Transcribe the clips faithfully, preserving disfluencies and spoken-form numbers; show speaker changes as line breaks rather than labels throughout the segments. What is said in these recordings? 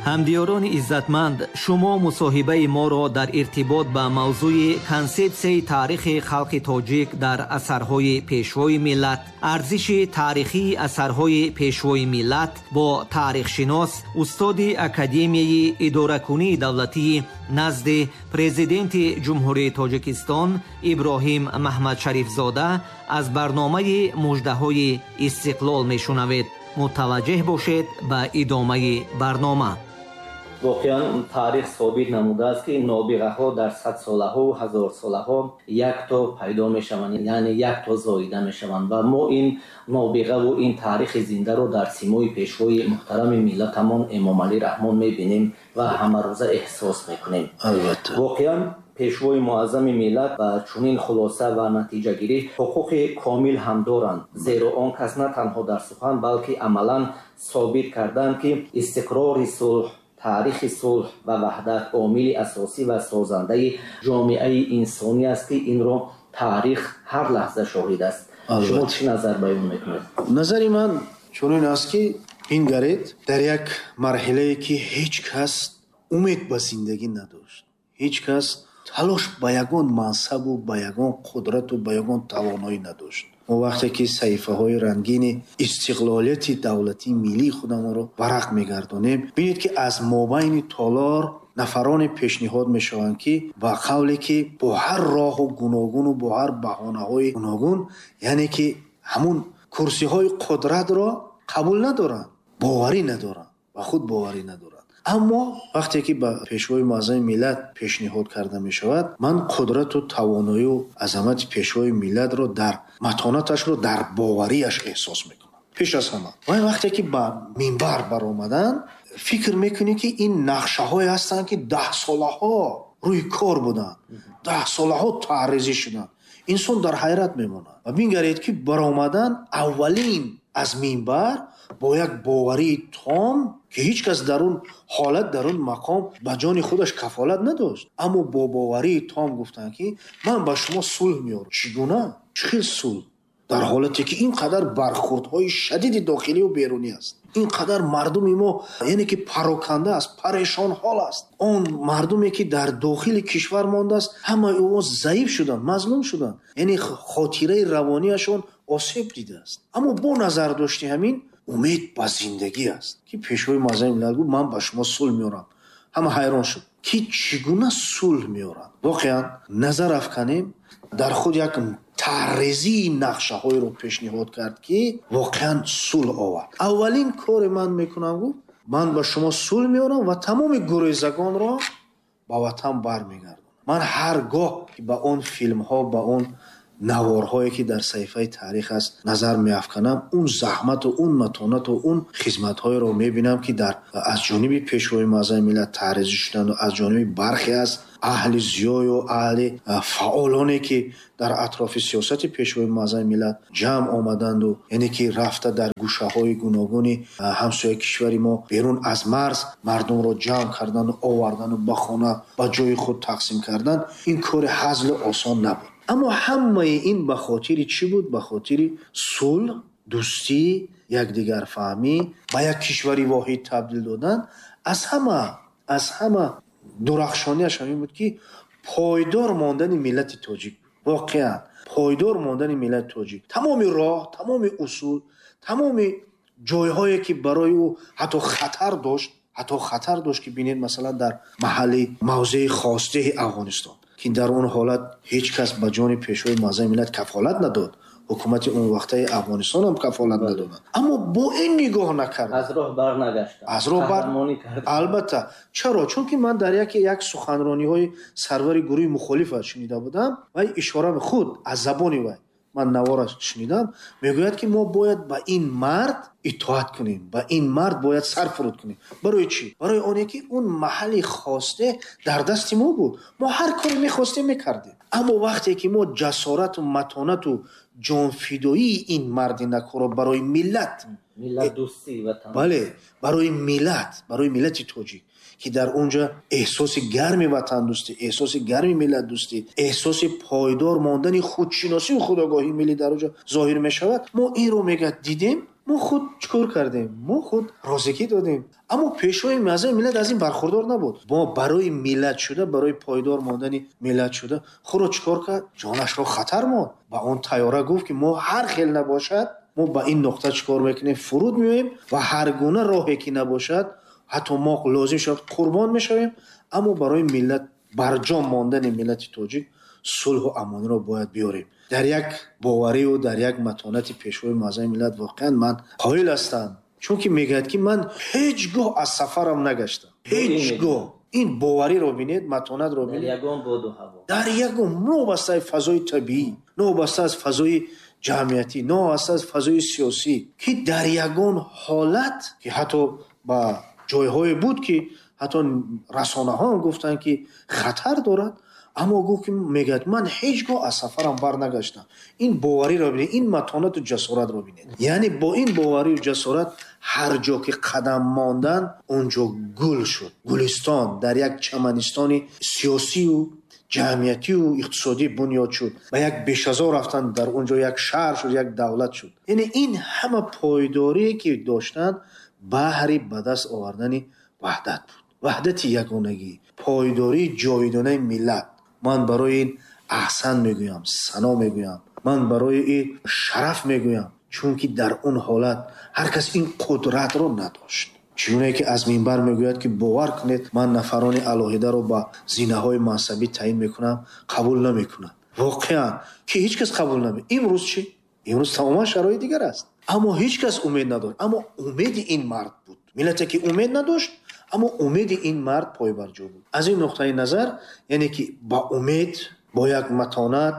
Ҳамдиёрони иззатманд, шумо мусоҳибаи моро дар иртибот ба мавзӯи консепсияи таърихи халқи тоҷик дар асарҳои пешвои миллат, арзиши таърихии асарҳои пешвои миллат бо таърихшинос, устоди Академияи идоракунии давлатии назди Президенти Ҷумҳурии Тоҷикистон Иброҳим Маҳмадшарифзода аз барномаи муждаҳои истиқлол мешунавед. Мутаваҷҷеҳ бошед ба идомаи барнома.
Воқеан таърих собит намудааст, ки нобиғаҳо дар садсолаҳо, ҳазорсолаҳо якто пайдо мешаванд, яъне якто зоида мешаванд ва мо ин нобиғаву ин таърихи зиндаро дар симои пешвои муҳтарами миллатамон Эмомалӣ Раҳмон мебинем ва ҳамарӯза эҳсос мекунем.
Албатта.
Воқеан пешвои муаззами миллат ба чунин хулоса ва натиҷагирӣ ҳуқуқи комил ҳам доранд, зеро он кас на танҳо дар сухан, балки амалан собит карданд, ки истиқрори сулҳ, таърихи сулҳ ва ваҳдат омили асосӣ ва созандаи ҷомеаи инсонӣ аст, ки инро таърих ҳар лаҳза шоҳид аст. Шумо чӣ назар баён мекунед?
Назари ман чунин аст, ки бингаред, дар як марҳилае ки ҳеҷ кас умед ба зиндагӣ надошт, ҳеҷ кас талош ба ягон мансабу ба ягон қудрату ба ягон тавоноӣ надошт. Мо вақте ки саҳифаҳои рангини истиқлолияти давлатии миллии худамонро варақ мегардонем, бинед, ки аз мобайни толор нафароне пешниҳод мешаванд, ки ба қавле ки бо ҳар роҳу гуногуну бо ҳар баҳонаҳои гуногун, яъне ки ҳамун курсиҳои қудратро қабул надоранд, боварӣ надоранд, ба худ боварӣ надоранд. Аммо вақте ки ба пешвои муаззами миллат пешниҳод карда мешавад, ман қудрату тавоноию азамати пешвои миллатро дар матонаташро дар боварияш эҳсос мекунам. Пеш аз ҳама. Ва вақте ки ба минбар баромаданд, фикр мекунӣ, ки ин нақшаҳое ҳастанд, ки даҳсолаҳо рӯи кор буданд, даҳсолаҳо таъризӣ шуданд. Инсон дар ҳайрат мемонад. Ва бингаред, ки баромадан аввалин аз минбар бо як боварии том, ки ҳеҷ кас дар он ҳолат, дар он мақом ба ҷони худаш кафолат надошт, аммо бо боварии том гуфтанд, ки ман ба шумо сулҳ меорам. Чӣ гуна? Чӣ хел сулҳ? Дар ҳолате ки ин қадар бархӯрдҳои шадиди дохилию берунӣ аст, ин қадар мардуми мо, яъне ки пароканда аст, парешонҳол аст. Он мардуме ки дар дохили кишвар мондааст, ҳамаи ӯ заиф шуданд, мазлум шуданд, яъне хотираи равонияшон осеб дидааст. Аммо бо назардошти ҳамин умед ба зиндагӣ аст, ки пешвои муаззами миллат гуфт: ман ба шумо сулҳ меорам. Ҳама ҳайрон шуд, ки чӣ гуна сулҳ меорад. Воқеан назар афканем, дар худ як таррезии нақшаҳоеро пешниҳод кард, ки воқеан сулҳ овард. Аввалин коре ман мекунам, гуфт, ман ба шумо сулҳ меорам ва тамоми гурезагонро ба ватан бармегардонам. Ман ҳар гоҳ ки ба он филмҳо, ба он наворҳое ки дар саҳифаи таърих аст назар меафканам, он заҳмату он матонату он хизматҳоеро мебинам, ки дар аз ҷониби пешвои муаззами миллат таъризӣ шуданд ва аз ҷониби бархе аз аҳли зиёю аҳли фаъолоне, ки дар атрофи сиёсати пешвои муаззами миллат ҷамъ омаданду, яъне ки рафта дар гӯшаҳои гуногуни ҳамсояи кишвари мо, берун аз марз мардумро ҷамъ карданду овардану ба хона, ба ҷои худ тақсим кардан, ин кори ҳазлу осон набуд. Аммо ҳамаи ин ба хотири чӣ буд? Ба хотири сулҳ, дӯстӣ, якдигарфаҳмӣ, ба як кишвари воҳид табдил додан. Аз ҳама, аз ҳама дурахшонияш ҳамин буд, ки пойдор мондани миллати тоҷик, воқеан пойдор мондани миллати тоҷик. Тамоми роҳ, тамоми усул, тамоми ҷойҳое ки барои ӯ ҳатто хатар дошт, ҳатто хатар дошт, ки бинед, масалан, дар маҳалли мавзеи хосдеҳи Афғонистон, ки дар он ҳолат ҳеҷ кас ба ҷони пешвои муаззами миллат кафолат надод, ҳукумати он вақтаи Афғонистон ҳам кафолат надоданд, аммо бо ин нигоҳ накард,
аз роҳ барнагаштанд,
аз роҳ бар
қаҳрамонӣ карданд.
Албатта. Чаро? Чунки ман дар яке як суханрониҳои сарвари гурӯҳи мухолифа шунида будам ва ишора худ аз забони вай, ман навора шунидам, мегӯяд, ки мо бояд ба ин мард итоат кунем, ба ин мард бояд сар фуруд кунем. Барои чӣ? Барои оне ки он маҳалли хосте дар дасти мо буд, мо ҳар коре мехостем мекардем. Аммо вақте ки мо ҷасорату матонату ҷонфидоии ин марди накорро барои миллат,
миллатдӯстӣ, ватан,
бале, барои миллат, барои миллати тоҷик, ки дар онҷа эҳсоси гарми ватандӯстӣ, эҳсоси гарми миллатдӯстӣ, эҳсоси пойдор мондани худшиносию худогоҳии миллӣ дар онҷа зоҳир мешавад, мо инро мегӯяд дидем. Мо худ чӣ кор кардем? Мо худ розигӣ додем. Аммо пешвои муаззами миллат аз ин бархурдор набуд. Мо барои миллат шуда, барои пойдор мондани миллат шуда, худро чӣ кор кард? Ҷонашро хатар монд. Ба он тайёра гуфт, ки мо ҳар хел набошад, мо ба ин нуқта чӣ кор мекунем? Фуруд меоем ва ҳар гуна роҳе ки набошад, ҳатто мо лозим шавад қурбон мешавем, аммо барои миллат, барҷом мондани миллати тоҷик сулҳу амониро бояд биёрем. Дар як бовариву дар як матонати пешвои муаззами миллат воқеан ман қоил ҳастам, чунки мегӯяд, ки ман ҳеҷ гоҳ аз сафарам нагаштам, ҳеҷ гоҳ. Ин бовариро бинед, матонатро бинед.
Дар ягон боду ҳаво,
дар ягон, новобаста аз фазои табиӣ, новобаста аз фазои ҷамъиятӣ, новобаста аз фазои сиёсӣ, ки дар ягон ҳолат, ки ҳатто ба ҷойҳое буд, ки ҳатто расонаҳо ҳам гуфтанд, ки хатар дорад, аммо гуфт, ки мегӯяд, ман ҳеҷ гоҳ аз сафарам барнагаштам. Ин бовариро бинед, ин матонату ҷасоратро бинед. Яъне бо ин боварию ҷасорат ҳар ҷо ки қадам мондан, он ҷо гул шуд. Гулистон дар як чаманистони сиёсию ҷамъиятию иқтисодӣ бунёд шуд. Ба як бешазор рафтан, дар он ҷо як шаҳр шуд, як давлат шуд. Яъне ин ҳама пойдорие ки доштанд, баҳри ба даст овардани ваҳдат буд. Ваҳдати ягонагӣ, пойдории ҷовидонаи миллат. Ман барои ин аҳсан мегӯям, сано мегӯям, ман барои ин шараф мегӯям, чунки дар он ҳолат ҳар кас ин қудратро надошт. Чунон ки аз минбар мегӯяд, ки бовар кунед, ман нафарони алоҳидаро ба зинаҳои мансабӣ таъин мекунам, қабул намекунам. Воқеан ки ҳеҷ кас қабул намекунад. Имрӯз чӣ? Имрӯз тамоман шароит дигар аст. Аммо ҳеҷ кас умед надошт. Аммо умеди ин мард буд. Миллате ки умед надошт, аммо умеди ин мард пойбарҷо буд. Аз ин нуқтаи назар, яъне ки ба умед, бо як матонат,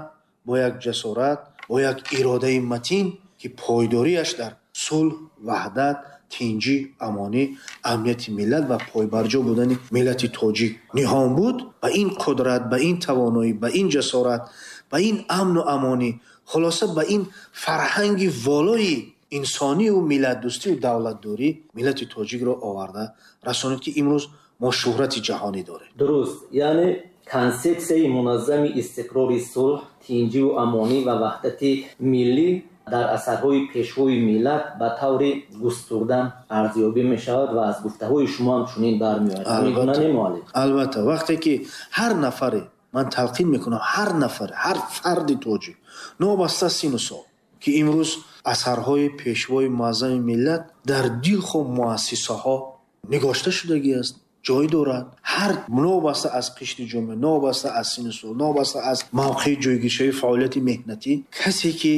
бо як ҷасорат, бо як иродаи матин, ки пойдориаш дар сулҳ, ваҳдат, тинҷӣ, амонӣ, амнияти миллат ва пойбарҷо будани миллати тоҷик ниҳон буд, ба ин қудрат, ба ин тавоноӣ, ба ин ҷасорат, ба ин амну амонӣ, хулоса ба ин фарҳанги волои инсонию миллатдӯстию давлатдорӣ миллати тоҷикро оварда расонид, ки имрӯз мо шӯҳрати ҷаҳонӣ дорем.
Дуруст, яъне консепсияи муназзами истиқрори сулҳ, тинҷиву амонӣ ва ваҳдати миллӣ дар асарҳои пешвои миллат ба таври густурда арзёбӣ мешавад ва аз гуфтаҳои шумо ҳам чунин бармеояд. Ҳамин гуна не, муаллим?
Албатта, вақте ки ҳар нафаре, ман талқин мекунам, ҳар нафар, ҳар фарди тоҷик, новобаста сину сол, ки имрӯз асарҳои пешвои муаззами миллат дар дилхо муассисаҳо нигошта шудагӣ аст, ҷой дорад. Ҳар новобаста аз қишри ҷомеа, новобаста аз сину сол, новобаста аз мавқеи ҷойгиршавии фаъолияти меҳнатӣ, касе ки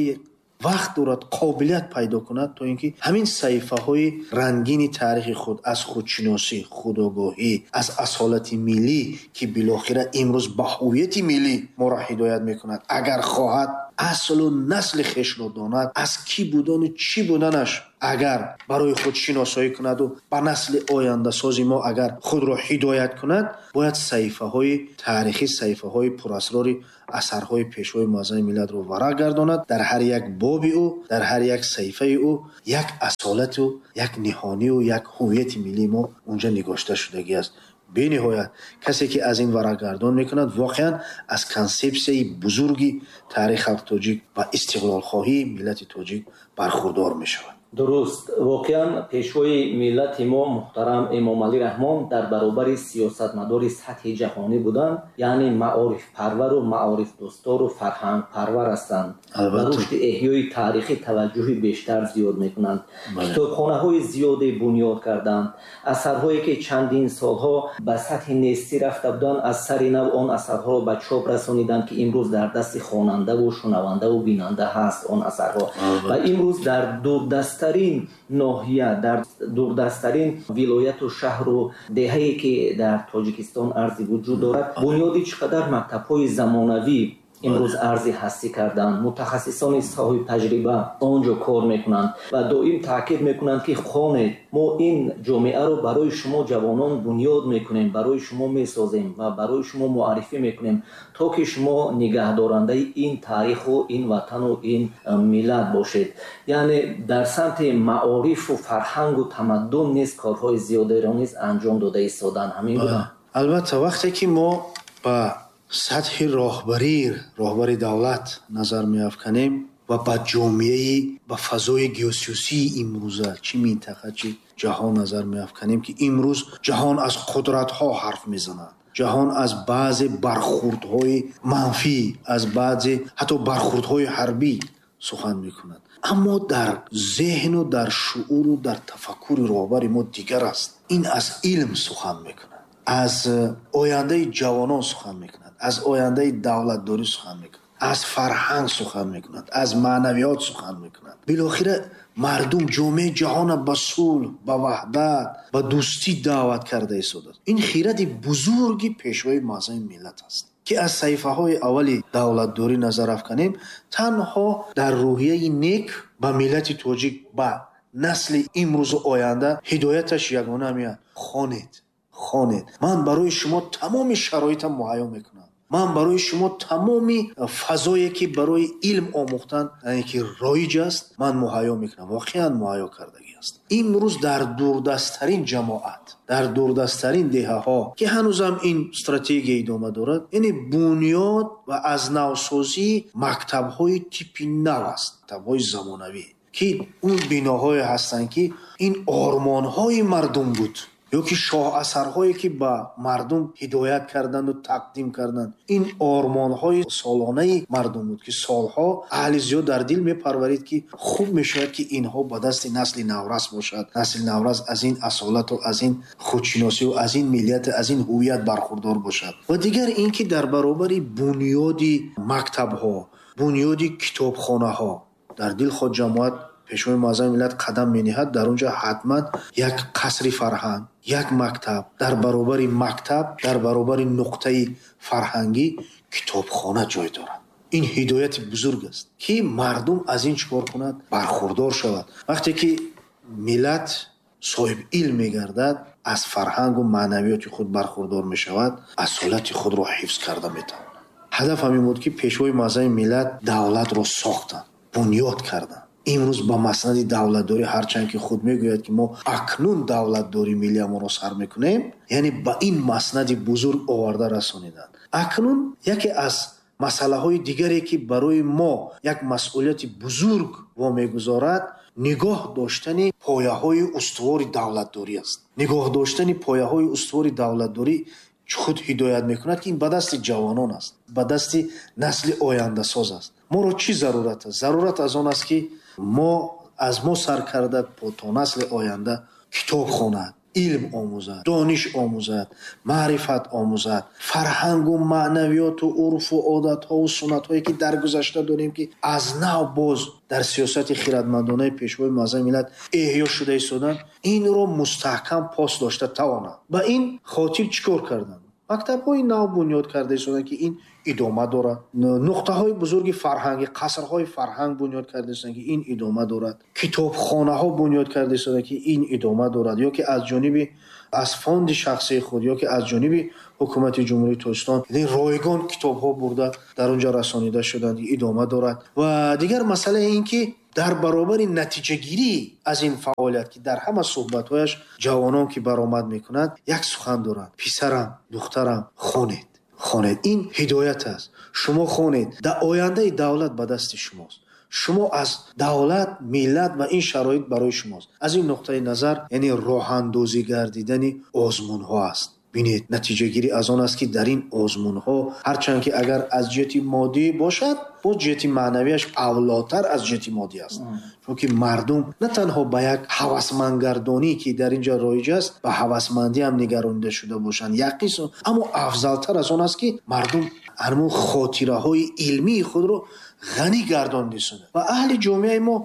вақт дорад, қобилият пайдо кунад, то ин ки ҳамин саҳифаҳои рангини таърихи худ аз худшиносӣ, худогоҳӣ, аз асолати миллӣ, ки билохира имрӯз ба ҳувияти миллӣ моро ҳидоят мекунад, агар хоҳад аслу насли хешро донад, аз кӣ будану чӣ буданаш агар барои худ шиносоӣ кунаду ба насли ояндасози мо агар худро ҳидоят кунад, бояд саҳифаҳои таърихӣ, саҳифаҳои пурасрори асарҳои пешвои муаззами миллатро варақ гардонад. Дар ҳар як боби ӯ, дар ҳар як саҳифаи ӯ як асолату як ниҳонию як ҳувияти миллии мо унҷа нигошта шудагӣ аст. Бениҳоят касе ки аз ин варақгардон мекунад, воқеан аз консепсияи бузурги таърихи халқи тоҷик ва истиқлолхоҳии миллати тоҷик бархурдор мешавад.
Дуруст, воқеан пешвои миллати мо муҳтарам Эмомалӣ Раҳмон дар баробари сиёсатмадори сатҳи ҷаҳонӣ буданд, яъне маорифпарвару маорифдӯстору фарҳангпарвар ҳастанд. Ба рушди эҳёи таърихӣ таваҷҷӯҳи бештар зиёд мекунанд. Китобхонаҳои зиёде бунёд карданд. Асарҳое ки чандин солҳо ба сатҳи нестӣ рафта буданд, аз сари нав он асарҳоро ба чоп расониданд, ки имрӯз дар дасти хонандаву шунавандаву бинанда ҳаст он асарҳо. Ва имрӯз дар дурдасттарин ноҳия, дар дурдасттарин вилояту шаҳру деҳае ки дар Тоҷикистон арзи вуҷуд дорад, бунёди чӣ қадар мактабҳои замонавӣ имрӯз арзи ҳастӣ карданд. Мутахассисони соҳибтаҷриба он ҷо кор мекунанд ва доим таъкид мекунанд, ки хонед, мо ин ҷомеаро барои шумо ҷавонон бунёд мекунем, барои шумо месозем ва барои шумо муаррифӣ мекунем, то ки шумо нигаҳдорандаи ин таъриху ин ватану ин миллат бошед. Яъне дар самти маорифу фарҳангу тамаддун низ корҳои зиёдеро низ анҷом дода истоданд. Ҳамин гуна?
Албатта, вақте ки мо ба сатҳи роҳбарӣ, роҳбари давлат назар меафканем, ва ба ҷомеаи, ба фазои геосиёсии имрӯза, чӣ минтақа, чӣ ҷаҳон назар меафканем, ки имрӯз ҷаҳон аз қудратҳо ҳарф мезанад. Ҷаҳон аз баъзе бархӯрдҳои манфӣ, аз баъзе ҳатто бархӯрдҳои ҳарбӣ сухан мекунад. Аммо дар зеҳну дар шууру дар тафаккури роҳбари мо дигар аст. Ин аз илм сухан мекунад, аз ояндаи ҷавонон сухан мекунад, аз ояндаи давлатдорӣ сухан мекунад, аз фарҳанг сухан мекунад, аз маънавиёт сухан мекунад. Билохира мардум, ҷомеаи ҷаҳонро ба сулҳ, ба ваҳдат, ба дӯстӣ даъват карда истодааст. Ин хиради бузурги пешвои муаззами миллат аст, ки аз саҳифаҳои аввали давлатдорӣ назар афканем, танҳо дар рӯҳияи нек ба миллати тоҷик, ба насли имрӯзу оянда ҳидояташ ягона меояд. Хонед, хонед. Ман барои шумо тамоми шароитам муҳайё мекунам. Ман барои шумо тамоми фазое, ки барои илм омӯхтан, яъне ки роиҷ аст, ман муҳайё мекунам. Воқеан муҳайё кардагӣ аст. Имрӯз дар дурдасттарин ҷамоат, дар дурдасттарин деҳаҳо, ки ҳанӯзам ин стратегия идома дорад, яъне бунёд ва аз навсозии мактабҳои типи нав аст, мактабҳои замонавӣ, ки он биноҳое ҳастанд, ки ин ормонҳои мардум буд, ё ки шоҳасарҳое, ки ба мардум ҳидоят карданду тақдим карданд. Ин ормонҳои солонаи мардум буд, ки солҳо аҳли зиёд дар дил мепарварид, ки хуб мешавад, ки инҳо ба дасти насли наврас бошад. Насли наврас аз ин асолату аз ин худшиносию аз ин миллият, аз ин ҳувият бархурдор бошад. Ва дигар ин ки дар баробари бунёди мактабҳо, бунёди китобхонаҳо дар дилхоҳ ҷамоат пешвои муаззами миллат қадам мениҳад, дар он ҷо ҳатман як қасри фарҳанг, як мактаб, дар баробари мактаб, дар баробари нуқтаи фарҳангӣ китобхона ҷой дорад. Ин ҳидояти бузург аст, ки мардум аз ин чӣ кор кунад? Бархурдор шавад. Вақте ки миллат соҳиби илм мегардад, аз фарҳангу маънавиёти худ бархурдор мешавад, асолати худро ҳифз карда метавонад. Ҳадаф ҳамин буд, ки пешвои муаззами миллат давлатро сохтанд, бунёд карданд. Имрӯз ба маснади давлатдорӣ, ҳарчанд ки худ мегӯяд, ки мо акнун давлатдории миллиямонро сар мекунем, яъне ба ин маснади бузург оварда расониданд. Акнун яке аз масъалаҳои дигаре, ки барои мо як масъулияти бузург вомегузорад, нигоҳ доштани пояҳои устувори давлатдорӣ аст. Нигоҳ доштани пояҳои устувори давлатдорӣ худ ҳидоят мекунад, ки ин ба дасти ҷавонон аст, ба дасти насли ояндасоз аст. Моро чӣ зарурат аст? Зарурат аз он аст, ки мо аз мо сар карда то насли оянда китоб хонад, илм омӯзад, дониш омӯзад, маърифат омӯзад, фарҳангу маънавиёту урфу одатҳову суннатҳое, ки дар гузашта дорем, ки аз нав боз дар сиёсати хирадмандонаи пешвои муаззами миллат эҳё шуда истоданд, инро мустаҳкам пос дошта тавонанд. Ба ин хотир чӣ кор карданд? Мактабҳои нав бунёд карда истоданд, ки ин идома дорад. Нуқтаҳои бузурги фарҳангӣ, қасрҳои фарҳанг бунёд карда истоданд, ки ин идома дорад. Китобхонаҳо бунёд карда истоданд, ки ин идома дорад. Ё ки аз ҷониби аз фонди шахсии худ, ё ки аз ҷониби ҳукумати Ҷумҳурии Тоҷикистон ройгон китобҳо бурда дар он ҷо расонида шуданд, идома дорад. Ва дигар масъалаи ин ки дар баробари натиҷагирӣ аз ин фаъолият, ки дар ҳама суҳбатҳояш ҷавонон ки баромад мекунанд, як сухан доранд: писарам, духтарам, хонед, хонед. Ин ҳидоят аст. Шумо хонед, дар ояндаи давлат ба дасти шумост. Шумо аз давлат, миллат ва ин шароит барои шумост. Аз ин нуқтаи назар, яъне роҳандозӣ гардидани озмунҳо аст. Бинед, натиҷагирӣ аз он аст, ки дар ин озмунҳо ҳарчанд ки агар аз ҷиҳати моддӣ бошад, боз ҷиҳати маънавияш авлотар аз ҷиҳати моддӣ аст. Чунки мардум на танҳо ба як ҳавасмандгардонӣ, ки дар ин ҷо роиҷ аст, ба ҳавасмандӣ ҳам нигаронида шуда бошанд, як қисм, аммо афзалтар аз он аст, ки мардум ҳамон хотираҳои илмии худро ғанӣ гардонида истоданд. Ва аҳли ҷомеаи мо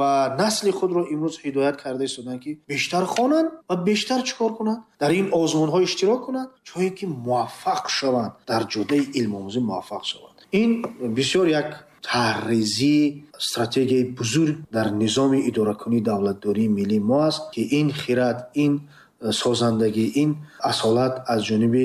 ба насли худро имрӯз ҳидоят карда истоданд, ки бештар хонанд ва бештар чӣ кор кунанд? Дар ин озмунҳо иштирок кунанд, чун ки муваффақ шаванд, дар ҷодаи илмомӯзӣ муваффақ шаванд. Ин бисёр як тарҳрезии стратегияи бузург дар низоми идоракунии давлатдории миллии мо аст, ки ин хирад, ин созандагӣ, ин асолат аз ҷониби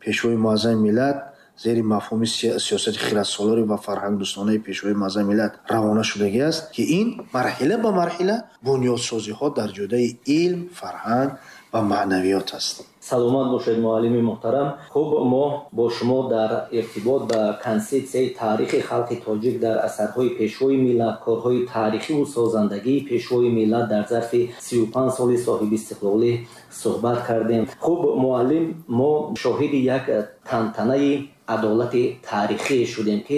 пешвои муаззами миллат зери мафҳуми сиёсати хирадсолорӣ ва фарҳангдӯстонаи пешвои муаззами миллат равона шудагӣ аст, ки ин марҳила ба марҳила бунёдсозиҳо дар ҷодаи илм, фарҳанг ва маънавиёт аст.
Саломат бошед, муаллими муҳтарам. Хуб, мо бо шумо дар иртибот ба консепсияи таърихи халқи тоҷик дар асарҳои Пешвои миллат, корҳои таърихиву созандагии Пешвои миллат дар зарфи сию панҷ соли соҳибистиқлолӣ суҳбат кардем. Хуб, муаллим, мо шоҳиди як тантанаи адолати таърихӣ шудем, ки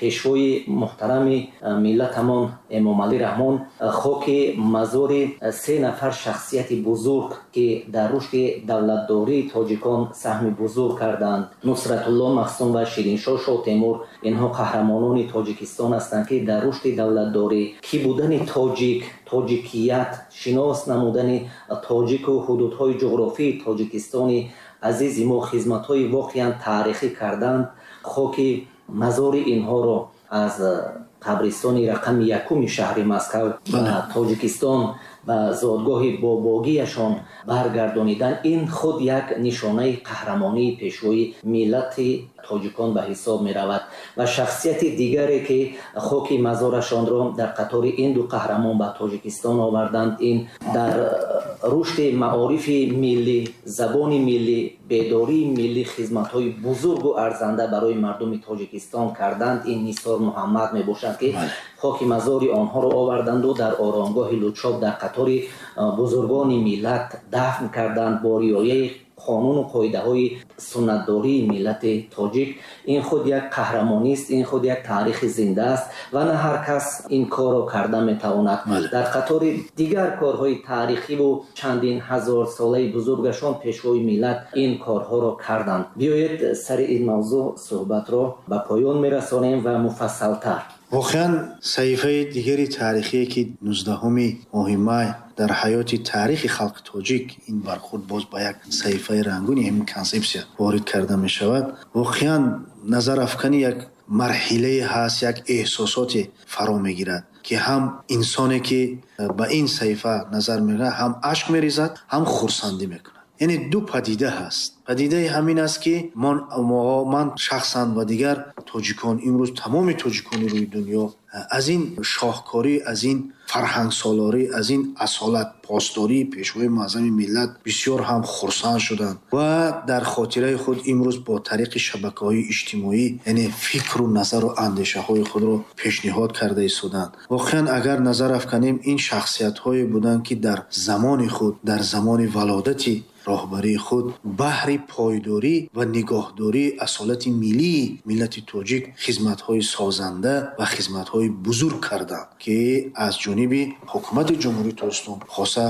Пешвои муҳтарами миллатамон Эмомалӣ Раҳмон хоки мазори се нафар шахсияти бузург, ки дар рушди давлатдории тоҷикон саҳми бузург карданд, Нусратулло Маҳсум ва Шириншоҳ Шоҳтемур, инҳо қаҳрамонони Тоҷикистон ҳастанд, ки дар рушди давлатдорӣ, кӣ будани тоҷик, тоҷикият, шинос намудани тоҷику ҳудудҳои ҷуғрофии Тоҷикистони азизи мо хизматҳои воқеан таърихӣ карданд. Хоки мазори инҳоро аз қабристони рақами якуми шаҳри Москав ба Тоҷикистон, ба зодгоҳи бобогиашон баргардонидан, ин худ як нишонаи қаҳрамонии Пешвои миллати тоҷикон ба ҳисоб меравад. Ва шахсияти дигаре, ки хоки мазорашонро дар қатори ин ду қаҳрамон ба Тоҷикистон оварданд, ин дар рушди маорифи миллӣ, забони миллӣ, бедории миллӣ хизматҳои бузургу арзанда барои мардуми Тоҷикистон карданд, ин Нисор Муҳаммад мебошанд, ки хоки мазори онҳоро оварданду дар оромгоҳи Лучоб дар қатори бузургони миллат дафн карданд бо риояи қонуну қоидаҳои суннатдории миллати тоҷик. Ин худ як қаҳрамонист, ин худ як таърихи зинда аст ва на ҳар кас ин корро карда метавонад. Дар қатори дигар корҳои таърихиву чандин ҳазорсолаи бузургашон Пешвои миллат ин корҳоро карданд. Биёед сари ин мавзӯъ суҳбатро ба поён мерасонем ва муфассалтар.
Воқеан, саҳифаи дигари таърихие, ки нуздаҳуми моҳи май дар ҳаёти таърихи халқи тоҷик ин бархӯрд боз ба як саҳифаи рангуни ҳамин консепсия ворид карда мешавад, воқеан назарафкани як марҳилае ҳаст, як эҳсосоте фаро мегирад, ки ҳам инсоне, ки ба ин саҳифа назар мекунад, ҳам ашк мерезад, ҳам хурсандӣ мекунад. Яъне ду падида ҳаст. Падидаи ҳамин аст, ки ман шахсан ва дигар тоҷикон, имрӯз тамоми тоҷикони рӯи дунё аз ин шоҳкорӣ, аз ин фарҳангсолорӣ, аз ин асолат посдории Пешвои муаззами миллат бисёр ҳам хурсанд шуданд ва дар хотираи худ имрӯз бо тариқи шабакаҳои иҷтимоӣ, яъне фикру назару андешаҳои худро пешниҳод карда истоданд. Воқеан, агар назар афканем, ин шахсиятҳое буданд, ки дар замони худ, дар замони валодати роҳбарии худ баҳри пойдорӣ ва нигоҳдории асолати миллии миллати тоҷик хизматҳои созанда ва хизматҳои бузург карданд, ки аз ҷониби ҳукумати Ҷумҳурии Тоҷикистон, хоса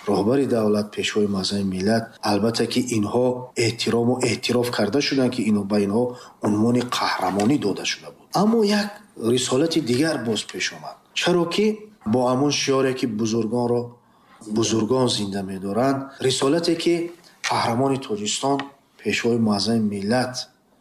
роҳбари давлат, Пешвои муаззами миллат, албатта ки инҳо эҳтирому эътироф карда шуданд, ки инҳо ба инҳо унвони қаҳрамонӣ дода шуда буд. Аммо як рисолати дигар боз пеш омад, чаро ки бо ҳамон шиоре, ки бузургонро бузургон зинда медоранд, рисолате, ки қаҳрамони Тоҷикистон, Пешвои муаззами миллат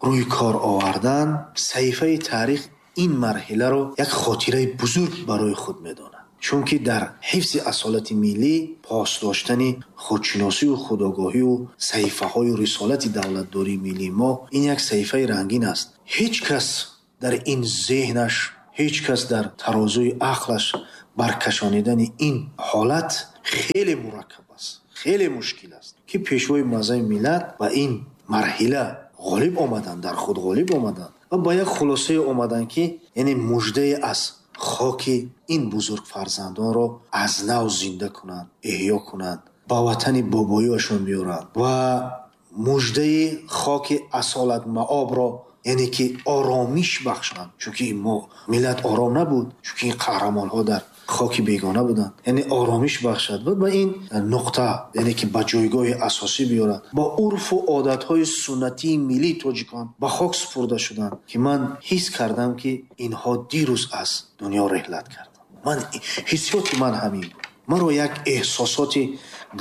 рӯи кор овардан, саҳифаи таърих ин марҳиларо як хотираи бузург барои худ медонад, чунки дар ҳифзи асолати миллӣ, пос доштани худшиносию худогоҳию саҳифаҳои рисолати давлатдории миллии мо ин як саҳифаи рангин аст. Ҳеҷ кас дар ин зеҳнаш, ҳеҷ кас дар тарозуи ақлаш баркашонидани ин ҳолат хеле мураккаб аст, хеле мушкил аст, ки Пешвои муаззами миллат ба ин марҳила ғолиб омаданд, дар худ ғолиб омаданд ва ба як хулосае омаданд, ки яъне муждае аз хоки ин бузург фарзандонро аз нав зинда кунанд, эҳё кунанд, ба ватани бобоиашон биёранд ва муждаи хоки асолатмаобро, яъне ки оромиш бахшанд, чунки мо миллат ором набуд, чунки ин қаҳрамонҳо дар хоки бегона буданд, яъне оромиш бахшад ва ба ин нуқта, яъне ки ба ҷойгоҳи асосӣ биёрад. Бо урфу одатҳои суннатии миллии тоҷикон ба хок супурда шуданд, ки ман ҳис кардам, ки инҳо дирӯз аз дунё реҳлат карданд. Ман ҳиссиёти ман ҳамин буд. Маро як эҳсосоти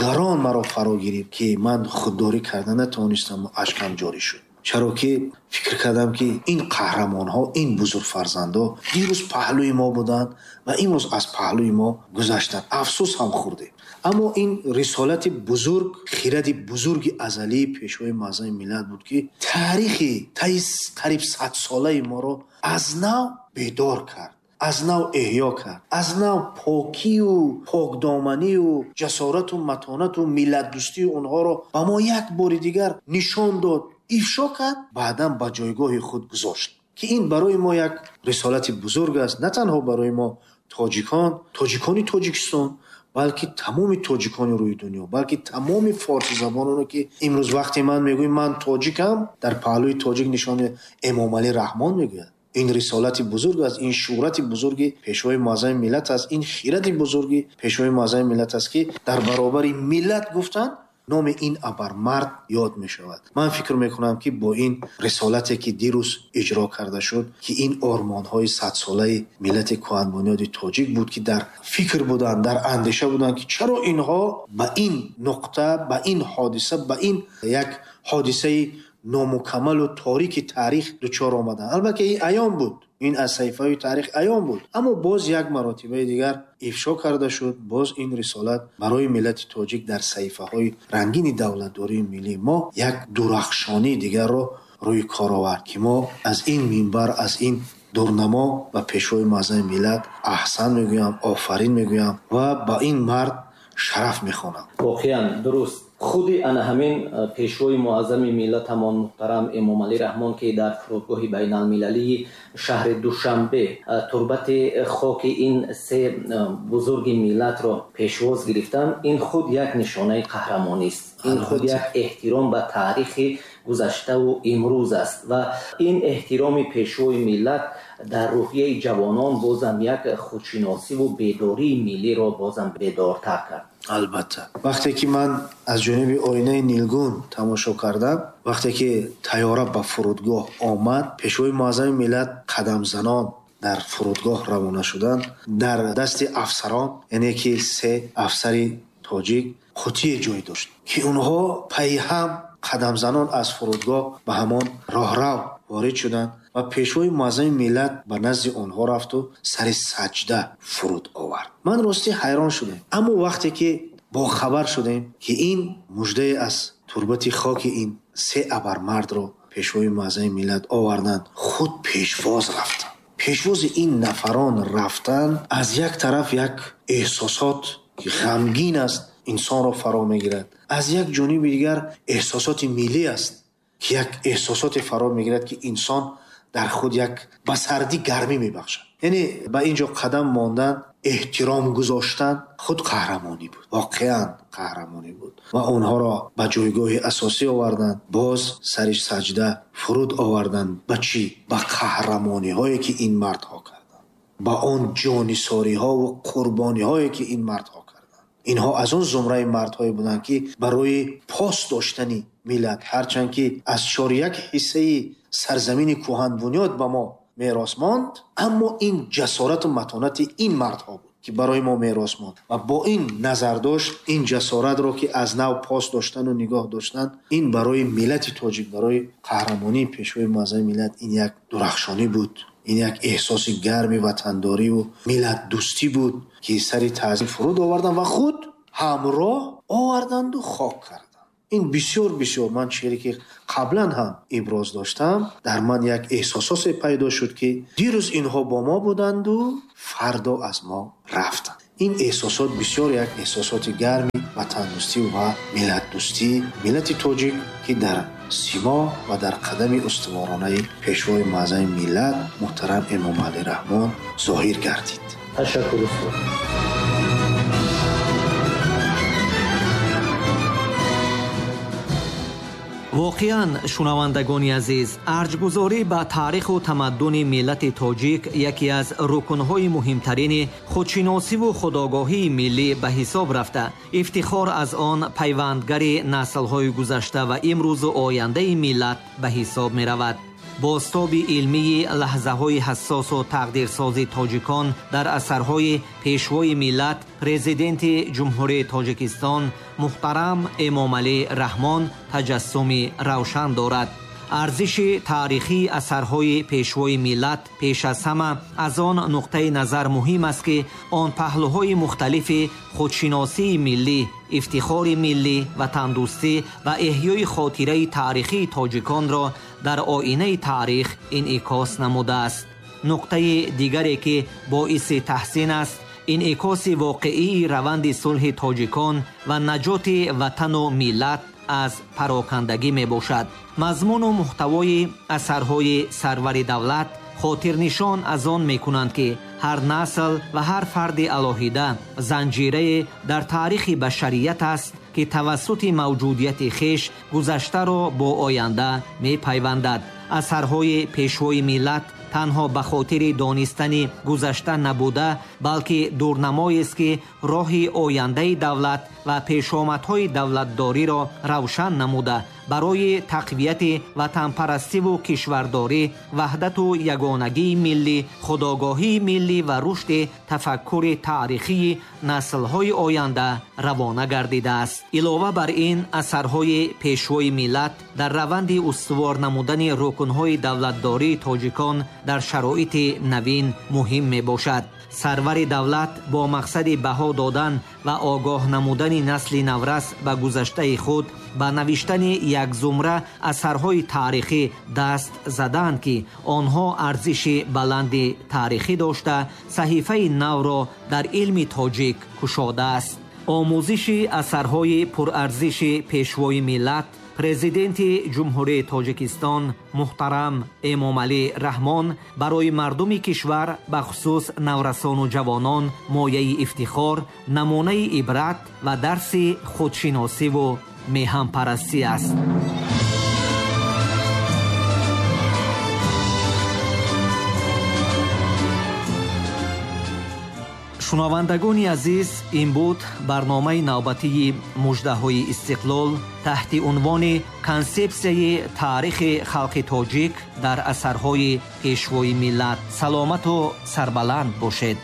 гарон маро фаро гирифт, ки ман худдорӣ карда натавонистам ва ашкам ҷорӣ шуд. Чаро ки фикр кардам, ки ин қаҳрамонҳо, ин бузургфарзандҳо дирӯз паҳлӯи мо буданд ва имрӯз аз паҳлӯи мо гузаштанд. Афсӯс ҳам хӯрдем. Аммо ин рисолати бузург, хиради бузурги азалии Пешвои муаззами миллат буд, ки таърихи таи қариб садсолаи моро аз нав бедор кард, аз нав эҳё кард, аз нав покию покдоманию ҷасорату матонату миллатдӯстии онҳоро ба мо як бори дигар нишон дод, ифшо кард, баъдан ба ҷойгоҳи худ гузошт, ки ин барои мо як рисолати бузург аст, на танҳо барои мо тоҷикон, тоҷикони Тоҷикистон, балки тамоми тоҷикони рӯи дунё, балки тамоми форсизабононе, ки имрӯз вақте ман мегӯям ман тоҷикам, дар паҳлӯи тоҷик нишони Эмомалӣ Раҳмон мегӯяд. Ин рисолати бузург аст, ин шӯҳрати бузурги Пешвои муаззами миллат аст, ин хирати бузурги Пешвои муаззами миллат аст, ки дар баробари миллат гуфтанд номи ин абармард ёд мешавад. Ман фикр мекунам, ки бо ин рисолате, ки дирӯз иҷро карда шуд, ки ин ормонҳои садсолаи миллати кӯҳанбунёди тоҷик буд, ки дар фикр буданд, дар андеша буданд, ки чаро инҳо ба ин нуқта, ба ин ҳодиса, ба ин як ҳодисаи номукаммалу торики таърих дучор омаданд. Албатта ин аён буд, ин аз саҳифаҳои таърих аён буд, аммо боз як маротибаи дигар ифшо карда шуд. Боз ин рисолат барои миллати тоҷик дар саҳифаҳои рангини давлатдории миллии мо як дурахшонии дигарро рӯи кор овард, ки мо аз ин минбар, аз ин дурнамо ба Пешвои муаззами миллат аҳсан мегӯям, офарин мегӯям ва ба ин мард шараф мехонам.
Воқеан дуруст. Худи ана ҳамин Пешвои муаззами миллатамон муҳтарам Эмомалӣ Раҳмон, ки дар фурудгоҳи байналмилалии шаҳри Душанбе турбати хоки ин се бузурги миллатро пешвоз гирифтанд, ин худ як нишонаи қаҳрамонист, ин худ як эҳтиром ба таърихи гузаштаву имрӯз аст ва ин эҳтироми Пешвои миллат дар рӯҳияи ҷавонон бозам як худшиносиву бедории миллиро бозам бедортар кард.
Албатта, вақте ки ман аз ҷониби оинаи нилгун тамошо кардам, вақте ки тайёра ба фурудгоҳ омад, Пешвои муаззами миллат қадамзанон дар фурудгоҳ равона шуданд, дар дасти афсарон, яъне ки се афсари тоҷик қутие ҷой дошт, ки онҳо пайи ҳам қадамзанон аз фурудгоҳ ба ҳамон роҳрав ворид шуданд ва Пешвои муаззами миллат ба назди онҳо рафту сари саҷда фуруд овард. Ман ростӣ ҳайрон шудем, аммо вақте ки бохабар шудем, ки ин муждае аз турбати хоки ин се абармардро Пешвои муаззами миллат оварданд, худ пешвоз рафтанд. Пешвози ин нафарон рафтан аз як тараф як эҳсосот, ки ғамгин аст, инсонро фаро мегирад, аз як ҷониби дигар эҳсосоти миллӣ аст, ки як эҳсосоте фаро мегирад, ки инсон дар худ як ба сардӣ гармӣ мебахшад. Яъне ба ин ҷо қадам мондан, эҳтиром гузоштан худ қаҳрамонӣ буд, воқеан қаҳрамонӣ буд ва онҳоро ба ҷойгоҳи асосӣ оварданд, боз сари саҷда фуруд оварданд. Ба чӣ? Ба қаҳрамониҳое, ки ин мардҳо карданд, ба он ҷонисориҳову қурбониҳое, ки ин мардҳо карданд. Инҳо аз он зумраи мардҳое буданд, ки барои пос доштани миллат, ҳарчанд ки аз чор як ҳиссаи сарзамини кӯҳанбунёд ба мо мерос монд, аммо ин ҷасорату матонати ин мардҳо буд, ки барои мо мерос монд ва бо ин назардошт ин ҷасоратро, ки аз нав пос доштану нигоҳ доштан, ин барои миллати тоҷик, барои қаҳрамонии Пешвои муаззами миллат ин як дурахшонӣ буд, ин як эҳсоси гарми ватандориву миллатдӯстӣ буд, ки сари таъзим фуруд оварданд ва худ ҳамроҳ оварданду хок карданд. Ин бисёр бисёр ман чизе ки қаблан ҳам иброз доштам, дар ман як эҳсосоте пайдо шуд, ки дирӯз инҳо бо мо буданду фардо аз мо рафтанд. Ин эҳсосот бисёр як эҳсосоти гарми ватандӯстӣ ва миллатдӯстии миллати тоҷик, ки дар симо ва дар қадами устуворонаи Пешвои муаззами миллат муҳтарам Эмомалӣ Раҳмон зоҳир гардид.
Ташаккур, устод.
Воқеан, шунавандагони азиз, арҷгузорӣ ба таъриху тамаддуни миллати тоҷик яке аз рукнҳои муҳимтарини худшиносиву худогоҳии миллӣ ба ҳисоб рафта, ифтихор аз он пайвандгари наслҳои гузашта ва имрӯзу ояндаи миллат ба ҳисоб меравад. Бозтоби илмии лаҳзаҳои ҳассосу тақдирсози тоҷикон дар асарҳои Пешвои миллат, Президенти Ҷумҳурии Тоҷикистон муҳтарам Эмомалӣ Раҳмон таҷассуми равшан дорад. Арзиши таърихии асарҳои Пешвои миллат пеш аз ҳама аз он нуқтаи назар муҳим аст, ки он паҳлӯҳои мухталифи худшиносии миллӣ, ифтихори миллӣ, ватандӯстӣ ва эҳёи хотираи таърихии тоҷиконро дар оинаи таърих инъикос намудааст. Нуқтаи дигаре ки боиси таҳсин аст, инъикоси воқеии раванди сулҳи тоҷикон ва наҷоти ватану миллат аз парокандагӣ мебошад. Мазмуну муҳтавои асарҳои сарвари давлат хотирнишон аз он мекунанд, ки ҳар насл ва ҳар фарди алоҳида занҷирае дар таърихи башарият аст, ки тавассути мавҷудияти хеш гузаштаро бо оянда мепайвандад. Асарҳои пешвои миллат танҳо ба хотири донистани гузашта набуда, балки дурнамоест, ки роҳи ояндаи давлат ва пешомадҳои давлатдориро равшан намуда, барои тақвияти ватанпарастиву кишвардорӣ, ваҳдату ягонагии миллӣ, худогоҳии миллӣ ва рушди тафаккури таърихии наслҳои оянда равона гардидааст. Илова бар ин, асарҳои пешвои миллат дар раванди устувор намудани рукнҳои давлатдории тоҷикон дар шароити навин муҳим мебошад. Сарвари давлат бо мақсади баҳо додан ва огоҳ намудани насли наврас ба гузаштаи худ ба навиштани як зумра асарҳои таърихӣ даст задаанд, ки онҳо арзиши баланди таърихӣ дошта, саҳифаи навро дар илми тоҷик кушодааст. Омӯзиши асарҳои пурарзиши пешвои миллат, президенти Ҷумҳурии Тоҷикистон муҳтарам Эмомалӣ Раҳмон барои мардуми кишвар, бахусус наврасону ҷавонон, мояи ифтихор, намунаи ибрат ва дарси худшиносиву меҳанпарастӣ аст. Шунавандагони азиз, ин буд барномаи навбатии муждаҳои истиқлол таҳти унвони консепсияи таърихи халқи тоҷик дар асарҳои пешвои миллат. Саломату сарбаланд бошед.